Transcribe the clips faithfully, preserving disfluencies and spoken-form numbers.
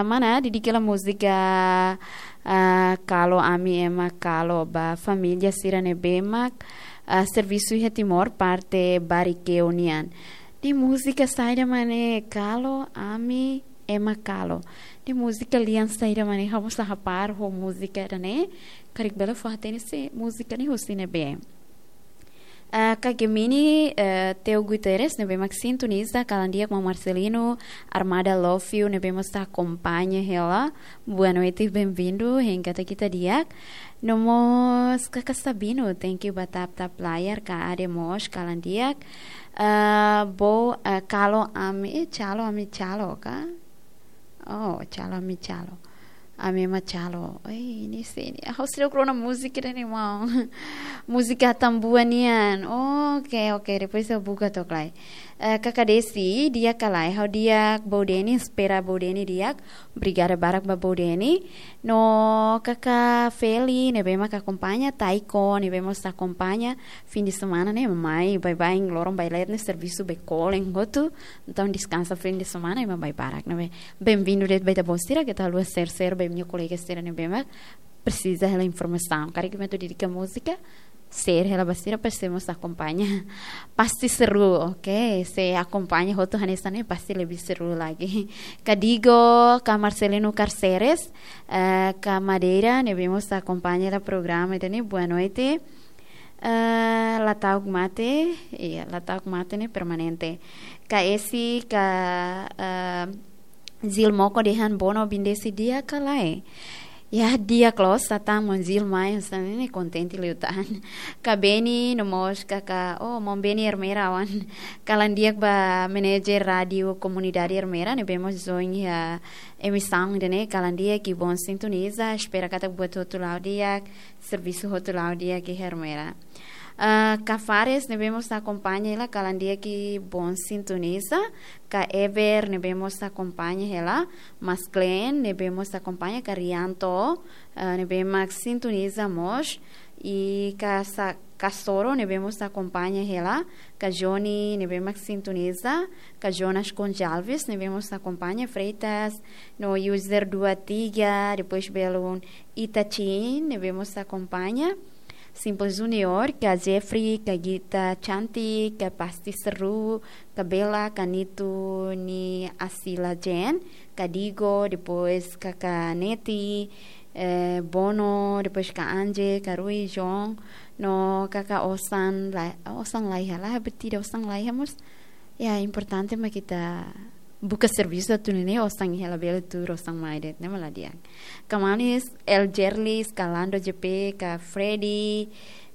Mana, dedika hela múzika, ah, Kalo Ami Ema Kalo ba família sira ne'ebé mak, ah, servisu iha Timor, parte Barikeu nian. Ne'e múzika saida mak ne'e, Kalo Ami Ema Kalo? Ne'e múzika lian saida mak ne'e? Ha'u mós la hapara ho múzika ida-ne'e. Karik bele fó-hatene se múzika ne'e husi ne'ebé. Ah, Kak Gemini, eh, Teo Guterres, ne'ebé mak sintoniza, kalan di'ak, Maun Marcelino, Armada Love You, ne'ebé mós akompaña hela. Boa noite, bem-vindo, hein, kata kita di'ak. No mós Kaka Sabino, thank you ba tap-tap layar, Ka Ade mós, kalan di'ak. Ah, bo, ah, Kalo Ami, eh, Calo Ami Calo, ka? Oh, Calo Ami Calo. Ami Ema Calo. Ei, ne'e sé ne'e. Ah, ha'u seidauk rona múzika ida-ne'e, maun. Múzika Atambua nian. Oke, oke. Depois ha'u buka to'ok lai. Eh, Kaka Desi, di'ak ka lae? Ha'u di'ak, Bou Deni, espera Bou Deni di'ak. Obrigada barak ba Bou Deni. No Kaka Feli, ne'ebé mak akompaña, Taiko, ne'ebé mós akompaña. Fim de semana ne'e mai, baibain, loron baileet ne'e servisu bee kolen hotu. Entaun deskansa fim de semana, ema baibarak ne'ebé. Bem-vindo de'it ba ita-boot sira, keta haluha share-share ba imi-nia kolega sira ne'ebé mak presiza hela informasaun. Karik imi atu dedika múzika, share hela ba sira, para sira mós akompaña. Pasti seru, oke. Se akompaña hotu hanesan ne'e, pasti lebih seru lagi. Ka Digo, Ka Marcelino Carceres, eh, Ka Madeira, ne'ebé mós akompaña hela programa ida-ne'e, boa noite. Eh, la ta'uk mate, iya, la ta'uk mate ne'e permanente. Ka Esi, Ka, eh, Zil Moko dehan Bono bindesi di'ak ka lae? Ya, di'ak loos, sa tan maun Zil mai, sa ne'e kontente liután. Ka Beni, no mós Kaka, oh, maun Beni Ermera oan. Kalan di'ak ba manajer rádiu komunidade Ermera, ne'ebé mós join iha emisaun ida-ne'e, kalan di'ak i bom sintoniza, espera katak buat hotu la'o di'ak, servisu hotu la'o di'ak iha Ermera. Ah, Ka Fares, ne'ebé mós akompaña hela, kalan di'ak i bom sintoniza. Ka Ever, ne'ebé mós akompaña hela. Mas Glenn, ne'ebé mós akompaña. Ka Rianto, ah, ne'ebé mak sintoniza mós. I Ka Sa-, Ka Soro, ne'ebé mós akompaña hela. Ka Johnny, ne'ebé mak sintoniza. Ka Jonas Gonçalves, ne'ebé mós akompaña. Freitas, no user dua tiga, depois belun Itachin, ne'ebé mós akompaña. Simple Junior, Ka Jeffrey, Ka Gita Cantik, Ka Pasti Seru, Ka Bella, Ka Nitu, Ni Asila Jen, Ka Digo, depois Kaka Neti, eh, Bono, depois Ka Anje, Ka Rui, John, no Kaka Osan, la, Osan laiha, la, betida Osan laiha, mós. Ya, importante mak ita buka servisu atu nune'e osan iha labele tuur osan mai de'it, ne'e mak la di'ak. Ka Manis, El Jerlis, Ka Lando J P, Ka Freddy,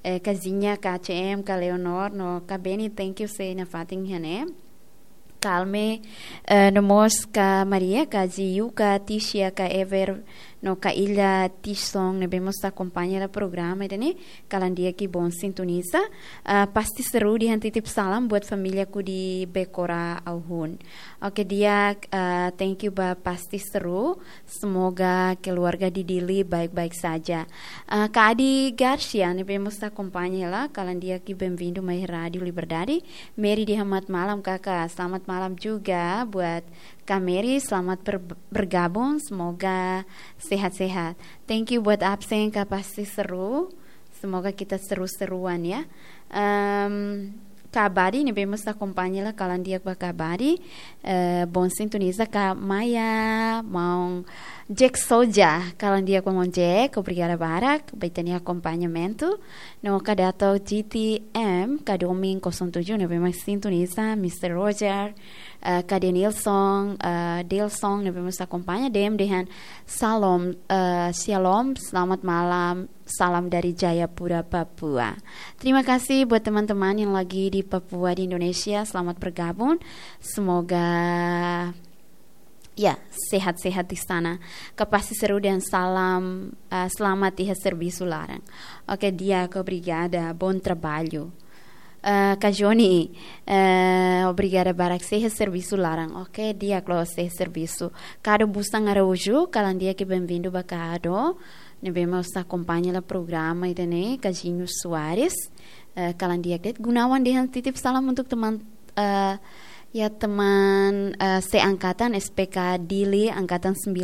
eh, Ka Zinha, Ka C M, Ka Leonor, no Ka Beni, thank you sei nafatin iha ne'e. Kalme, eh, no mós Ka Maria, Ka Ziyu, Ka Tisia, Ka Ever, no Ka Ilha Tison, ne'ebé mós akompaña hela programa ida-ne'e, kalan di'ak i bom sintoniza. Ah, Pasti Seru dehan titip salam buat famíliaku di Bekora Auhun. Oke, di'ak, ah, thank you ba Pasti Seru. Semoga keluarga di Dili baik-baik saja. Ah, Ka Adi Garcia, ne'ebé mós akompaña hela, kalan di'ak i bem-vindo mai Rádiu Liberdade. Mary dehan selamat malam, Kaka. Selamat malam juga buat Ka Mary, selamat ber-, bergabung, semoga sehat-sehat. Thank you buat absen, Ka Pasti Seru. Semoga kita seru-seruan, ya. Em, Ka Abadi, ne'ebé mós akompaña hela, kalan di'ak ba Ka Abadi. Eh, bom sintoniza. Ka Maya, maun Jack Soja, kalan di'ak ba maun Jack, obrigada barak ba ita-nia akompañamentu. No Ka Dato G T M, Ka Domin kosong tujuh, ne'ebé mak sintoniza, Mister Roger, eh, Ka Denilson, eh, Dilson, ne'ebé mós akompaña, D M dehan, Shalom, eh, Shalom, selamat malam, salam dari Jayapura, Papua. Terima kasih buat teman-teman yang lagi di Papua, di Indonesia, selamat bergabung. Semoga ya, sehat-sehat di sana. Ka Pasti Seru dehan salam, ah, selamat iha servisu laran. Oke, di'ak, obrigada. Bom trabalho. Ah, Ka Joni, eh, obrigada barak, sei iha servisu laran. Oke, di'ak, loos, sei iha servisu. Kado Busan Araújo, kalan di'ak i bem-vindo ba Kado. Ne'ebé mós akompaña hela programa ida-ne'e, Ka Jinho Soares. Eh, kalan di'ak de'it. Gunawan dehan titip salam untuk teman, eh, ya, teman, eh, seangkatan S P K Dili, angkatan sembilan